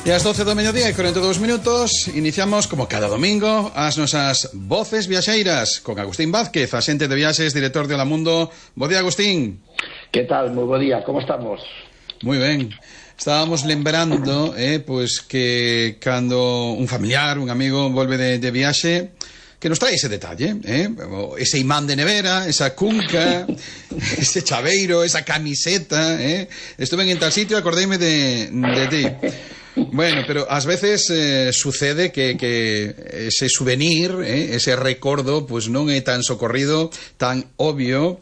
E ás 12 do mediodía e 42 minutos iniciamos, como cada domingo, as nosas voces viaxeiras con Agustín Vázquez, axente de viaxes, director de Hola Mundo. Bo día, Agustín. Que tal? Moi bo día, como estamos? Moi ben. Estábamos lembrando pois que cando un familiar, un amigo volve de viaxe, que nos trae ese detalle, ese imán de nevera, esa cunca, ese chaveiro, esa camiseta, estuve en tal sitio, acordeime de ti. Bueno, pero ás veces sucede que ese souvenir, ese recordo, pues non é tan socorrido, tan obvio,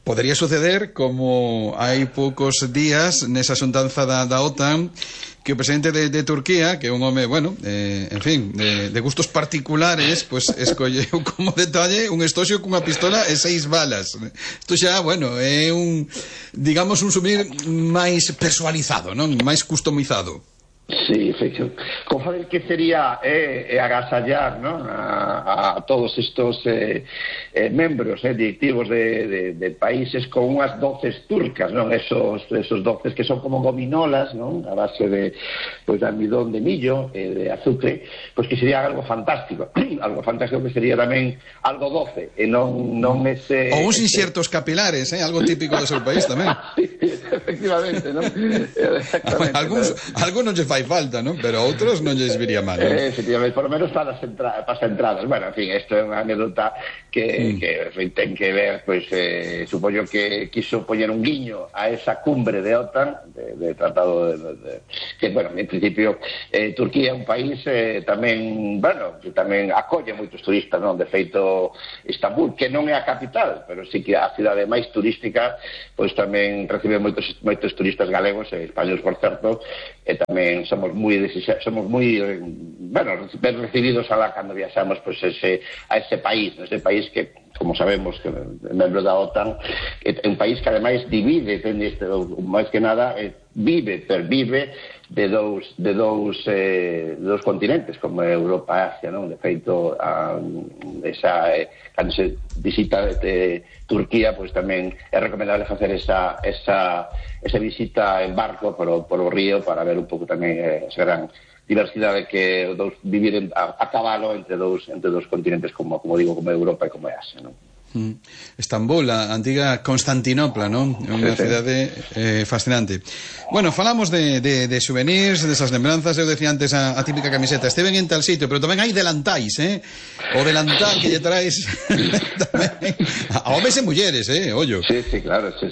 podería suceder como hai poucos días nesa xuntanza da OTAN, que o presidente de Turquía, que é un home, bueno, en fin, de gustos particulares, pues escolleu como detalle un estoxo cunha pistola e 6 balas. Isto xa, bueno, é un, digamos, un souvenir máis personalizado, non? Máis customizado. Sí, efectivo. Como saben que sería agasallar, ¿no? a todos estos membros directivos de países con unhas doces turcas, ¿no? Esos doces que son como gominolas, ¿no? A base de almidón de millo, de azúcar, pues que sería algo fantástico. Algo fantástico que sería tamén algo doce, e non ese... Ou uns inxertos capilares, algo típico do seu país tamén. Sí, efectivamente, ¿no? Exactamente. Algunos lle fai falta, ¿no? Pero outros non lles viría mal, ¿no? Efectivamente, por lo menos para as entradas. Bueno, en fin, isto é unha anécdota que ten que ver, pues, supoño que quiso poñer un guiño a esa cumbre de OTAN, de tratado que, bueno, en principio, Turquía é un país tamén, bueno, que tamén acolle moitos turistas, non? De feito, Istambul, que non é a capital, pero sí que a cidade máis turística, pois tamén recibe moitos turistas galegos e españoles, por certo, e tamén somos moi bueno, ben recibidos cando viaxamos pues, a ese país que, como sabemos, que é membro da OTAN, é un país que ademais divide, máis que nada, pervive de dous continentes, como Europa e Asia, non? De feito, cando se visita de Turquía, pues tamén é recomendable facer esa visita en barco por o río para ver un pouco tamén esa gran diversidade que vivir a cabalo entre dous continentes, como digo, como Europa e como Asia, non? Estambul, a antiga Constantinopla, non? É unha cidade fascinante. Bueno, falamos de souvenirs, desas lembranzas. Eu decía antes a típica camiseta, esteven en tal sitio, pero tamén hai delantais, o delantal que lle traes tamén a homes e mulleres, ollo. Sí, claro, sí.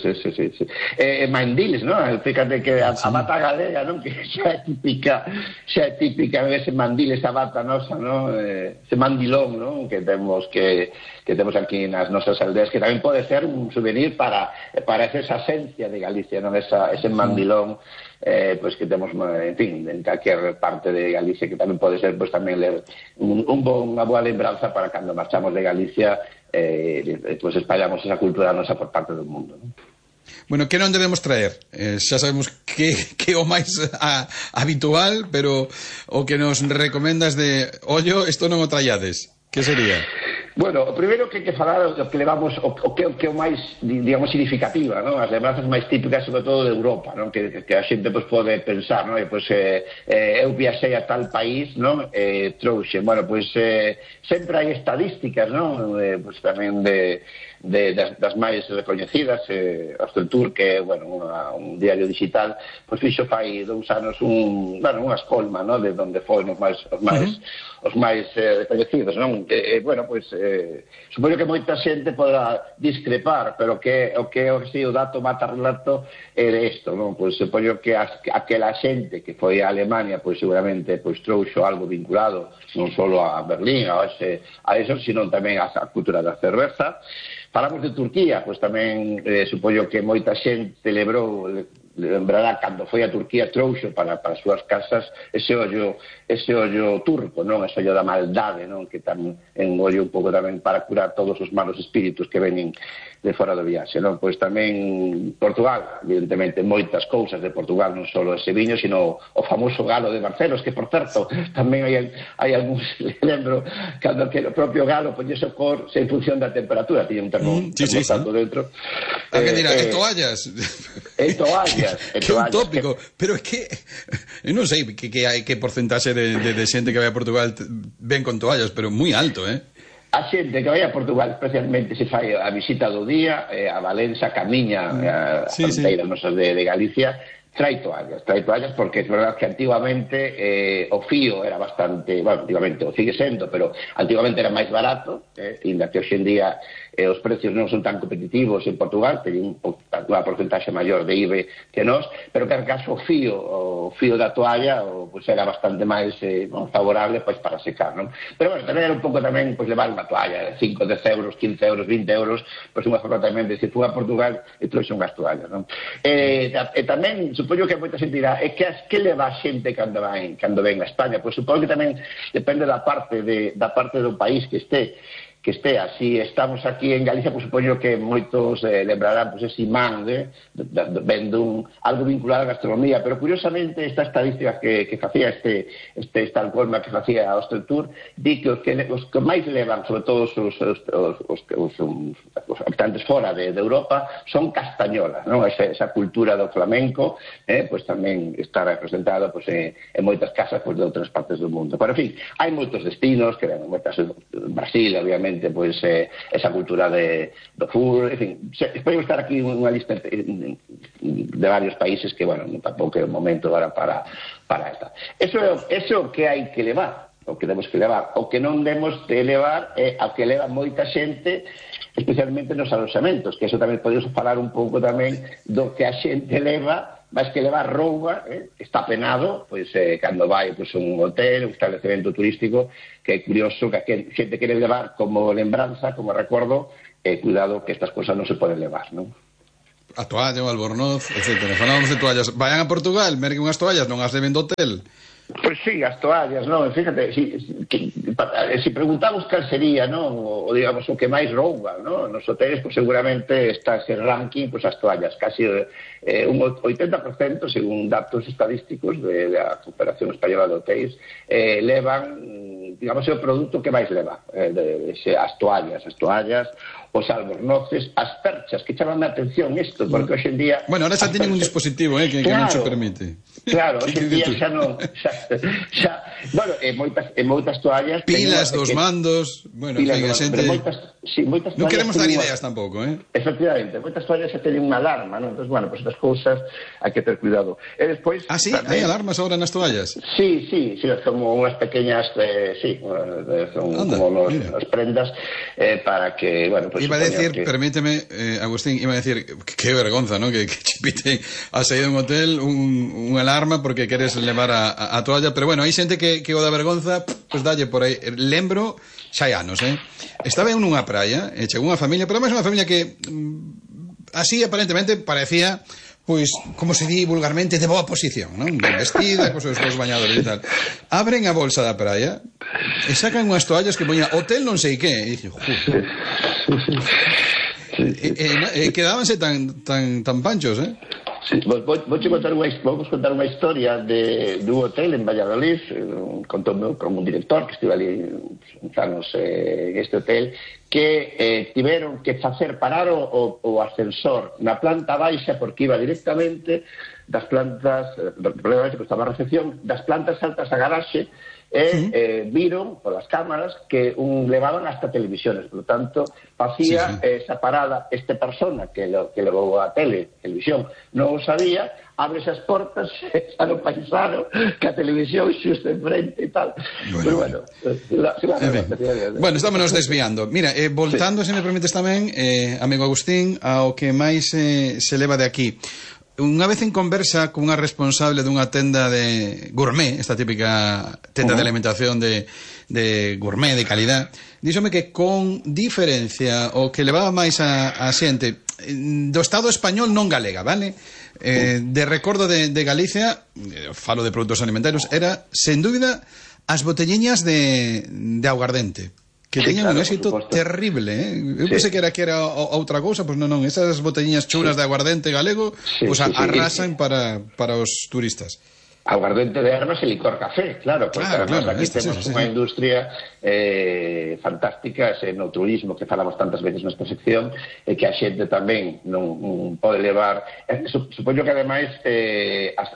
Mandiles, non? Fíjate que a bata galega, non? Que xa é típica ese mandil, esa bata nosa, non? Ese mandilón, non? Que temos aquí nas nosas aldeas, que tamén pode ser un souvenir para esa esencia de Galicia, non? Ese mandilón, pues que temos, en fin, en calquer parte de Galicia, que tamén pode ser, pues tamén ler unha boa lembranza para cando marchamos de Galicia, pues espallamos esa cultura nosa por parte do mundo, non? Bueno, que non debemos traer? Xa sabemos que é o máis habitual, pero o que nos recomendas de ollo, isto non o traiades, que sería? Bueno, o primeiro que hai que falar o que levamos, o que é o máis, digamos, significativa, non? As lembranzas máis típicas, sobre todo de Europa, non? Que a xente pues, pode pensar, non? E, pues, eu viaxei a tal país, non? Trouxe, bueno, pues, sempre hai estadísticas, non? Pues, tamén das máis recoñecidas, Asteltur, que é, bueno, un diario digital, pues fixo fai 2 anos unha escolma, non? De onde foron os máis recoñecidos, non? Bueno, pues supoño que moita xente poderá discrepar, pero o que o dato mata relato é isto, non? Pois supoño que aquela xente que foi a Alemania, pois seguramente pois trouxo algo vinculado non só a Berlín, a eso, sino tamén a cultura da cerveza. Falamos de Turquía, pois tamén supoño que moita xente lembrará cando foi a Turquía, trouxo para as súas casas ese ollo turco, non? Ese ollo da maldade, non? Que tamén en ollo un pouco tamén para curar todos os malos espíritus que veñen de fora do viaxe, non? Pois tamén Portugal, evidentemente moitas cousas de Portugal, non só ese viño, sino o famoso galo de Barcelos, que por certo tamén hai algúns, lembro, cando que o propio galo poñese o cor en función da temperatura, tiña un termostato dentro. A que dirá, toallas. Toallas. Que un tópico. Pero é que, eu non sei que porcentaxe de xente que vai a Portugal ven con toallas, pero moi alto, A xente que vai a Portugal especialmente se fai a visita do día, a Valença, camiña a fronteira nosa de Galicia, trae toallas porque es verdad que antiguamente o fío era bastante, bueno, antiguamente o sigue sendo, pero antiguamente era máis barato, inda que hoxe en día os precios non son tan competitivos en Portugal, teñen unha porcentaxe maior de IBE que nós, pero que en caso o fío da toalla pues era bastante máis favorable pues, para secar, non? Pero bueno, tamén era un pouco tamén pues, levar unha toalla, 5, 10 euros, 15 euros, 20 euros, pues unha forma tamén de se fui a Portugal e trouxe unhas toallas, non? E tamén, supoño que moita xente dirá, que leva a xente cando ven a España? Pois supoño que tamén depende da parte do país que estea. Si estamos aquí en Galicia, pues supoño que moitos lembrarán pues, ese imán vendo algo vinculado á gastronomía, pero curiosamente esta estadística que facía esta alcolma que facía a Ostentur di que os que máis levan, sobre todo os habitantes fora de Europa, son castañolas, non? Esa cultura do flamenco pues tamén está representada pues, en moitas casas pues, de outras partes do mundo. Pero, en fin, hai moitos destinos que ven moitas Brasil, obviamente, pues esa cultura do fútbol, en fin, espero estar aquí unha lista de varios países que, bueno, tampouco é o momento agora para esta. Eso que hai que levar, o que temos que levar, o que non demos de levar é ao que leva moita xente, especialmente nos aloxamentos, que eso tamén podemos falar un pouco tamén do que a xente leva, máis que levar roupa, está penado, pois cando vai pois, un hotel, un establecemento turístico, que é curioso que a xente quere levar como lembranza, como recuerdo, cuidado que estas cosas non se poden levar, non? A toalla, o albornoz, etc. Falamos de toallas. Vayan a Portugal, merquen unhas toallas, non as leven do hotel. Pois sí, as toallas, non? Fíjate, si preguntamos cal sería, non? O digamos, o que máis rouba, non? Nos hoteles, pues, seguramente está ese ranking, pues, as toallas, casi un 80%, según datos estadísticos da Cooperación Española de Hotéis, levan, digamos, o produto que máis leva, as toallas, os albornoces, as perchas, que chaman a atención isto, porque hoxe en día... Bueno, ahora xa teñen un dispositivo, que non se permite. Claro, hoxe en día xa non... Bueno, moitas toallas... Pilas dos mandos... Bueno, en fin, a xente... moitas non queremos dar ideas tampouco, Efectivamente, moitas toallas xa teñen unha alarma, non? Entón, bueno, pues estas cousas hai que ter cuidado. E despois... Ah, sí? Hai alarmas agora nas toallas? Sí, como unhas pequeñas... son como as prendas para que, bueno, pues... Iba a decir, permíteme, Agustín, iba a decir, que vergonza, ¿no? Que chipite a saído un hotel unha alarma porque queres levar a toalla, pero bueno, hai xente que o da vergonza, pues dalle por aí. Lembro, xa hai anos, estaba en unha praia, chegou unha familia, pero máis unha familia que así aparentemente parecía, pois, como se di vulgarmente, de boa posición, non? Ben vestida, cos seus bañadores e tal. Abren a bolsa da praia e sacan unhas toallas que poña hotel non sei que. E dixo, quedábanse tan panchos, Sí, vamos contar unha historia dun hotel en Valladolid, contoume con un director que estive ali uns anos en este hotel, que tiveron que facer parar o ascensor na planta baixa porque iba directamente das plantas, probablemente que estaba a recepción, das plantas altas a garaxe, viron polas cámaras que levaban hasta televisiones, por lo tanto facía esa parada esta persona que levou a televisión non o sabía, abre esas portas xa no paisano que a televisión xusto enfrente e tal. Pero bueno, bueno, estámonos desviando. Mira, voltando, se me permites tamén, amigo Agustín, ao que máis se leva de aquí. Unha vez en conversa con unha responsable dunha tenda de gourmet, esta típica tenda de alimentación de gourmet, de calidad, díxome que con diferencia o que levaba máis a xente do Estado español non galega, vale? De recordo de Galicia, falo de produtos alimentarios, era, sen dúbida, as botelliñas de aguardente, que teñen un éxito terrible, Eu pensei que era outra cousa, pois non, esas botelliñas chulas de aguardente galego, pois arrasan para os turistas. aguardente de ervas e licor café, claro, porque además aquí temos unha industria fantástica no turismo que falamos tantas veces nesta sección e que a xente tamén non pode levar. Supoño que ademais as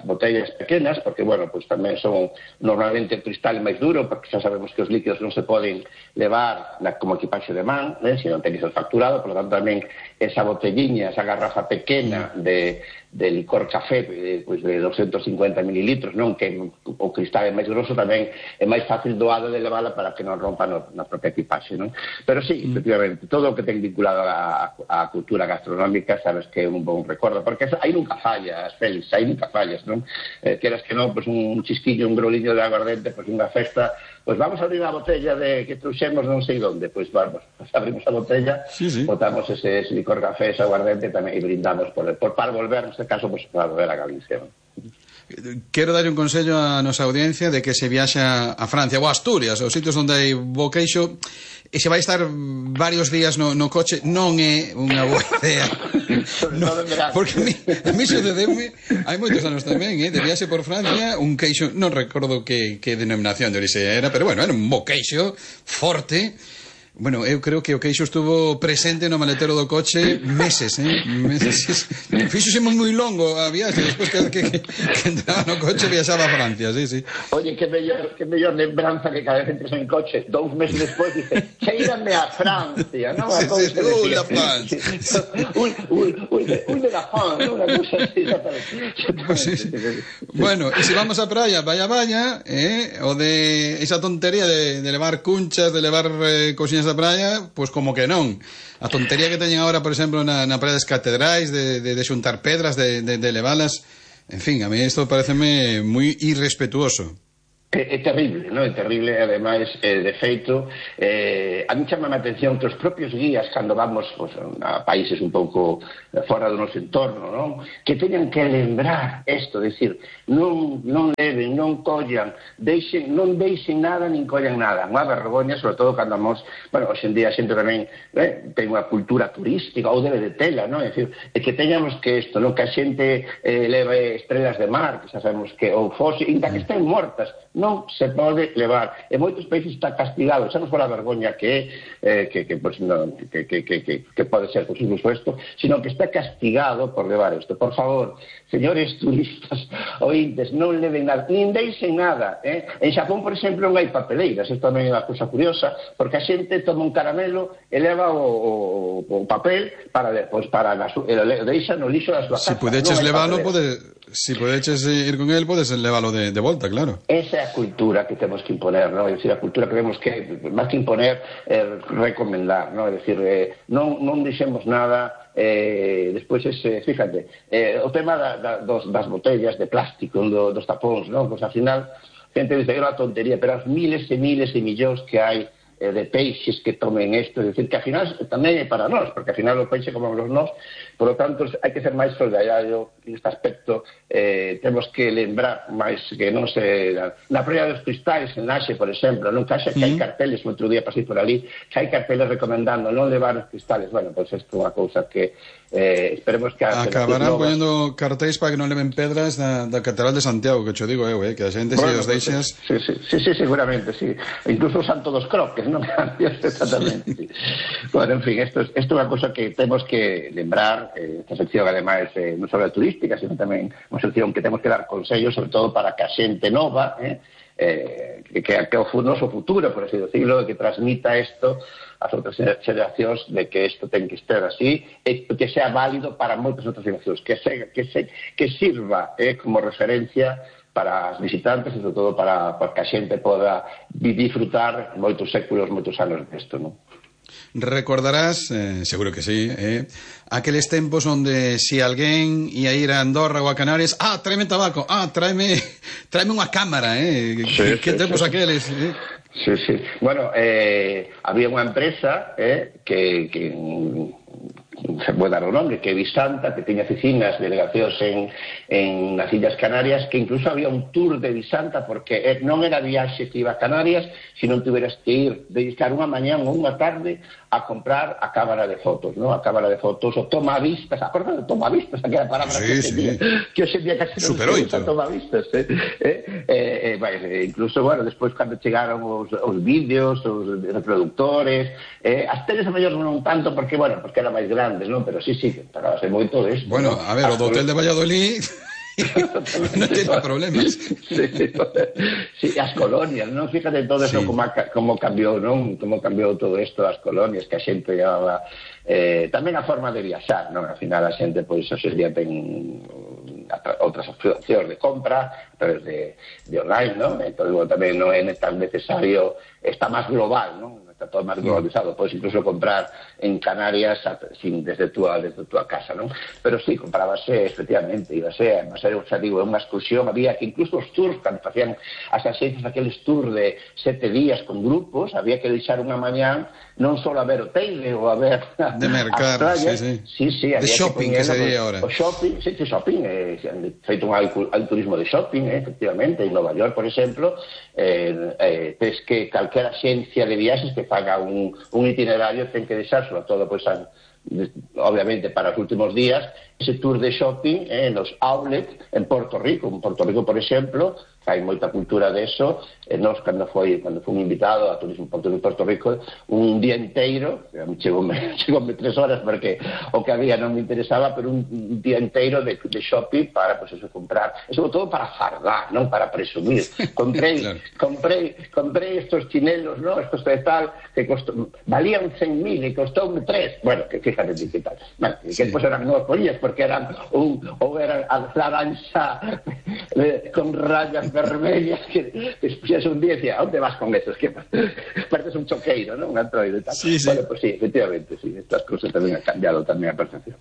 botellas pequenas, porque, bueno, pues tamén son normalmente o cristal máis duro, porque xa sabemos que os líquidos non se poden levar como equipaxe de man, se non tenéis el facturado, por lo tanto tamén esa botelliña, esa garrafa pequena de licor café pues de 250 mililitros, non, que o cristal é máis grosso, tamén é máis fácil doado de levala para que non rompa na propia equipaxe, non? Pero sí, efectivamente, todo o que ten vinculado á cultura gastronómica sabes que é un bon recordo, porque aí nunca fallas, Félix, aí nunca fallas, non? Queras que non, pues un chisquiño, un groliño de aguardente, pues unha festa, pues vamos a abrir a botella que trouxemos non sei onde, pues vamos, abrimos a botella, botamos ese licor café, ese aguardente tamén, e brindamos para volver, neste caso, pues para volver a Galicia, non? Quero dar un consello a nosa audiencia de que se viaxa a Francia ou a Asturias, os sitios onde hai bo queixo, e se vai estar varios días no coche, non é unha boa idea. No, porque a mí sucedeume hai moitos anos tamén, de viaxe por Francia, un queixo, non recordo que denominación de orixe era, pero bueno, era un bo queixo forte. Bueno, eu creo que o queixo estuvo presente no maletero do coche meses, meses. Fíxose moi longo a viaxe, despois que entraba no coche viaxaba a Francia, sí. Oye, que mellor lembranza que cada vez entres en coche 2 meses despois dice, cheírame a Francia, non? La France. De la France, non? Unha cousa así, exactamente. Bueno, e se vamos á praia, vaya, o de esa tontería de levar cunchas, de levar cousiñas da praia, pois como que non. A tontería que teñen agora, por exemplo, na praia das Catedrais, de xuntar pedras, de levalas, en fin, a mí isto pareceme moi irrespetuoso. É terrible, non? É terrible, ademais, de feito, a mí chama a atención que os propios guías, cando vamos pues, a países un pouco fora do noso entorno, non? Que teñan que lembrar isto, decir, non leven, non collan, non deixen nada, nin collan nada. Unha vergoña, sobre todo cando vamos, bueno, hoxe en día a xente tamén ten unha cultura turística, ou debe de tela, non? É dicir, que teñamos que isto, non? Que a xente leve estrelas de mar, que xa sabemos que, ou fose, inda que estén mortas, non se pode levar. En moitos países está castigado, xa non for a vergoña que pode ser por supuesto, sino que está castigado por levar isto. Por favor, señores turistas ointes, non leven nada, nin deixen nada. En Xapón, por exemplo, non hai papeleiras, isto tamén é unha cousa curiosa, porque a xente toma un caramelo e leva o papel para deixa no lixo da súa casa. Se pudeches leválo, si podeches ir con el, podes leválo de volta, claro. Esa é a cultura que temos que imponer, ¿no? É dicir, a cultura que temos que, máis que imponer, recomendar, ¿no? É dicir, non deixemos nada. Despois, fíjate, o tema das botellas de plástico, dos tapóns, ¿no? Pues, al final, gente dice que é unha tontería, pero as miles e miles e millóns que hai de peixes que tomen isto, é dicir, que ao final tamén é para nós, porque ao final o peixe comemos nós, por lo tanto, hai que ser máis solidario neste aspecto. Temos que lembrar máis que non se... Na praia dos Cristais, en Laxe, por exemplo, non caixa que hai carteles, outro día pasei por ali, que hai carteles recomendando non levar os cristales. Bueno, pois isto é unha cousa que esperemos que... Acabarán poñendo cartéis para que non leven pedras da Catedral de Santiago, que cho digo eu, que a xente se os deixas... Sí, seguramente, sí. Incluso o Santo dos Croques, non? Exactamente, sí. Bueno, en fin, isto é unha cousa que temos que lembrar. Esta sección, ademais, non só é turística, sino tamén unha sección que temos que dar consellos, sobre todo para que a xente nova, que é o noso futuro, por así decirlo, que transmita isto ás outras xeracións, de que isto ten que estar así, e que sea válido para moitas outras xeracións, que sirva como referencia para os visitantes e, sobre todo, para que a xente poda disfrutar moitos séculos, moitos anos disto, non? Recordarás, seguro que sí, aqueles tempos onde si alguén ia ir a Andorra ou a Canarias, tráeme tabaco, tráeme unha cámara, que tempos aqueles, Sí. Bueno, había unha empresa que se pode dar o nome, que é Visanta, que tiña oficinas, delegacións nas Illas Canarias, que incluso había un tour de Visanta, porque non era viaxe que iba a Canarias, sino tiveras que ir, dedicar unha mañán ou unha tarde a comprar a cámara de fotos, ¿no? A cámara de fotos, o tomavistas, acordas de tomavistas, aquela palabra que hoxe día casi non se usa, tomavistas, incluso, bueno, despois cando chegaron os vídeos, os reproductores, as teles a mellor non tanto, porque era máis grandes, non? Pero sí, pagábase moito de isto. Bueno, ¿no? a ver, o do hotel de Valladolid non ten problemas. Sí, as colonias, non? Fíjate todo eso como cambiou, non? Como cambiou todo isto, as colonias que a xente llevaba, tamén a forma de viaxar, non? Al final a xente, pois, hoxe día ten outras opcións de compra a través de online, non? Entón, tamén non é tan necesario, está máis global, non? Está todo máis globalizado, podes incluso comprar en Canarias desde túa casa, non? Pero sí, comprábase, efectivamente, ibase, xa digo, unha excursión, había que incluso os tours, cando facían as axencias, aqueles tours de 7 días con grupos, había que deixar unha mañán non só a ver o Teide ou a ver de mercar, sí, de shopping, que sería ahora. O shopping, feito un turismo de shopping, efectivamente, en Nova York, por exemplo, tes que calquera axencia de viaxes que faga un itinerario ten que deixar, sobre todo, pois, obviamente, para os últimos días, ese tour de shopping nos outlets en Porto Rico. En Porto Rico, por exemplo, hai moita cultura de eso. Nos, cando fui invitado a Turismo Porto Rico, un día inteiro, chegoume 3 horas porque o que había non me interesaba, pero un día inteiro de shopping para, pues eso, comprar, e sobre todo para fardar, non para presumir. Comprei estos chinelos, ¿no? Estos de tal, que valían 100.000 e costoume 3. Bueno, que fíjate que tal. Bueno, que despois eran novas polillas, porque eran eran a laranxa con rayas vermellas, que despois un día decía, ¿a onde vas con esos? Que pareces un choqueiro, ¿no? Un androide e tal. Bueno, pues sí, efectivamente, sí, estas cosas tamén han cambiado tamén a percepción.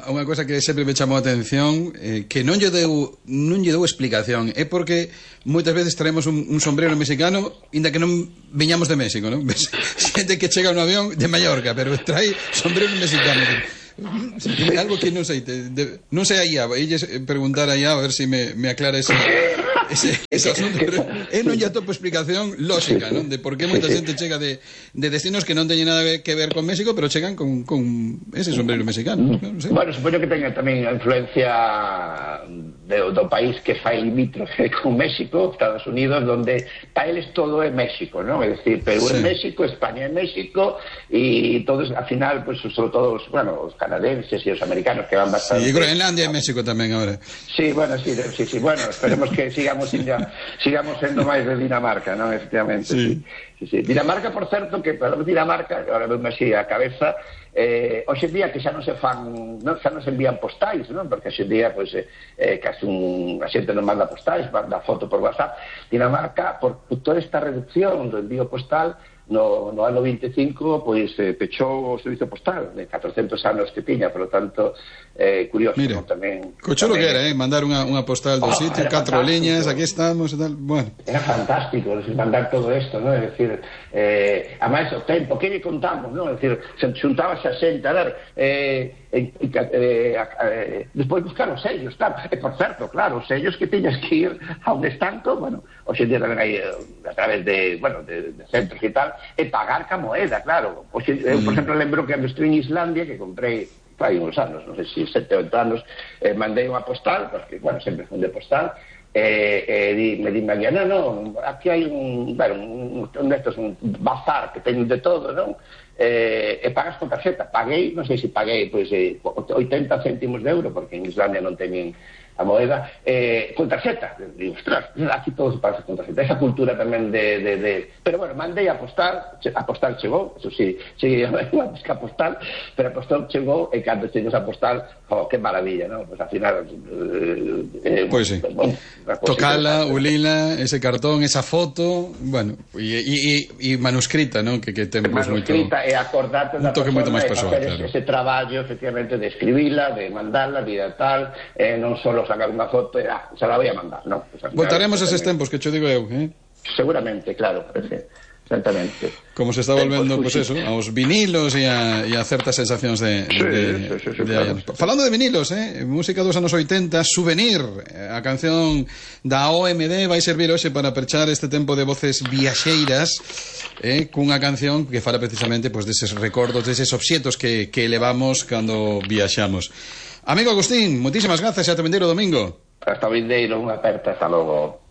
Unha cosa que sempre me chamou a atención, que non lle deu explicación, é porque moitas veces traemos un sombrero mexicano inda que non viñamos de México, non? Xente que chega no avión de Mallorca, pero trae sombrero mexicano. Algo que non sei, non sei aí, elles preguntar aí a ver se me aclara ese asunto, pero non lle atopo explicación lógica, non? De por que moita xente chega de destinos que non teñen nada que ver con México, pero chegan con ese sombrero mexicano, non sei. Bueno, supoño que teña tamén a influencia do país que fai limítrofe con México, Estados Unidos, donde para eles todo é México, non? É dicir, Perú é México, España é México, e todos, al final, pues, sobre todo os canadenses e os americanos que van bastante... Sí, Groenlandia é México tamén agora. Sí, bueno, sí, bueno, esperemos que sigamos sendo máis de Dinamarca, non? Efectivamente, sí. Dinamarca, por certo, que para Dinamarca, agora veume así a cabeza, hoxe en día que xa non se envían postais, non? Porque hoxe en día, pois, casi a xente non manda postais, manda foto por WhatsApp. Dinamarca, por toda esta reducción do envío postal, no ano 25, pois, pechou o servizo postal de 400 anos que tiña, por lo tanto, curioso. Mira, tamén cocho lo que era, mandar unha postal do sitio, 4 liñas, aquí estamos e tal, bueno. Era fantástico, mandar todo isto, non? É dicir, a máis o tempo, que lle contamos, non? É dicir, xuntábase a xente, a ver, despois buscar os sellos, claro, e por certo, claro, os sellos que tiñas que ir a un estanco, bueno, hoxe en día tamén hai a través de centros e tal, e pagar ca moeda, claro. Hoxe, eu, por exemplo, lembro que cando estive en Islandia, que comprei fai uns anos, non sei se 7 ou 8 anos, mandei unha postal, porque, bueno, sempre fun de postal, me di mañana, non, aquí hai un bazar que teñen de todo, non? E pagas con tarxeta. Paguei, non sei se paguei, pois, 80 céntimos de euro, porque en Islandia non teñen a moeda, con tarxeta. Digo, ostras, aquí todo se paga con tarxeta. Esa cultura tamén pero bueno, mandei a postal chegou, eso sí, cheguei antes que a postal, pero a postal chegou, e cando chegou a postal, que maravilla, non? Pues al final... Pois sí. Bueno, tocala, ulila, ese cartón, esa foto, bueno, e manuscrita, non? Que temos moito... Manuscrita e acordarte da persona moito máis persoal, claro. Ese traballo, efectivamente, de escribila, de mandarla, de tal, non só sacar unha foto e se la voy a mandar, non? Pues voltaremos a eses tempos que cho digo eu, Seguramente, claro, exactamente. Como se está volvendo, pues eso, aos vinilos e a certas sensacións de claro. Falando de vinilos, música dos anos 80, Souvenir, a canción da OMD vai servir hoxe para perchar este tempo de voces viaxeiras, cunha canción que fala precisamente pues deses recordos, deses obxetos que levamos cando viaxamos. Amigo Agustín, moitísimas grazas e ata vindeiro domingo. Hasta vindeiro, unha aperta, hasta logo.